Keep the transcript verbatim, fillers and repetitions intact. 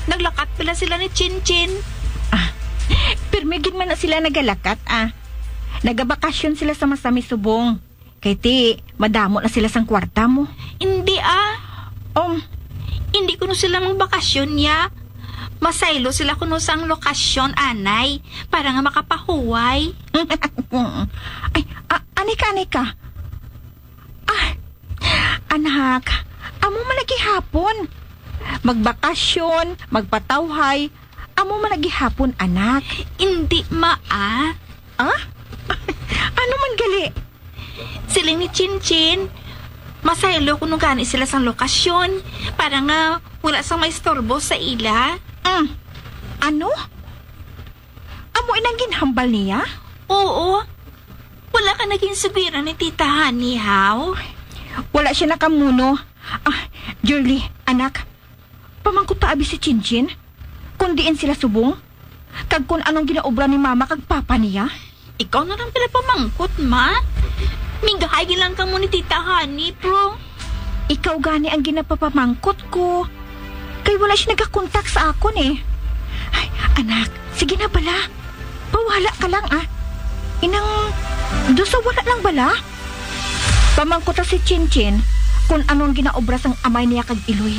Naglakat pala sila ni Chinchin. Ah, pirmi gid man na sila nagalakat, ah. Nagabakasyon sila sa masami subong. Kay ti, madamo na sila sang kwarta mo. Hindi, ah. Um, hindi kuno sila magbakasyon, ya. Masaylo sila kuno sang lokasyon, anay, para nga makapahuway. Ay, a-, anay ka, anay ka. Ah, anak, amo man na gihapon. Magbakasyon, magpatawhay, amo man na gihapon, anak. Hindi, ma, ah. Ah? Ano man gali? Siling ni Chinchin, masaylo kuno gani sila sang lokasyon para nga wala sang maistorbo sa ila. Mm. Ano? Amo inang ginhambal niya? Oo. Wala ka naging sugiran ni Tita Honey, haw? Wala siya nakamuno. Ah, Jerly, anak, pamangkot ta abi si Chinchin kung diin sila subong, kag kung anong ginaobra ni Mama kag Papa niya. Ikaw na lang pala pamangkot, ma. Minggahay lang kamo ni Tita Honey, pero ikaw gani ang ginapapamangkot ko. Kay wala siya nagakontak sa akon, eh. Ay, anak, sige na bala. Pawala ka lang, ah. Inang, do sa wala lang bala. Pamangkot ta si Chinchin kung ano ang ginaobra sang amay niya kag Iloy.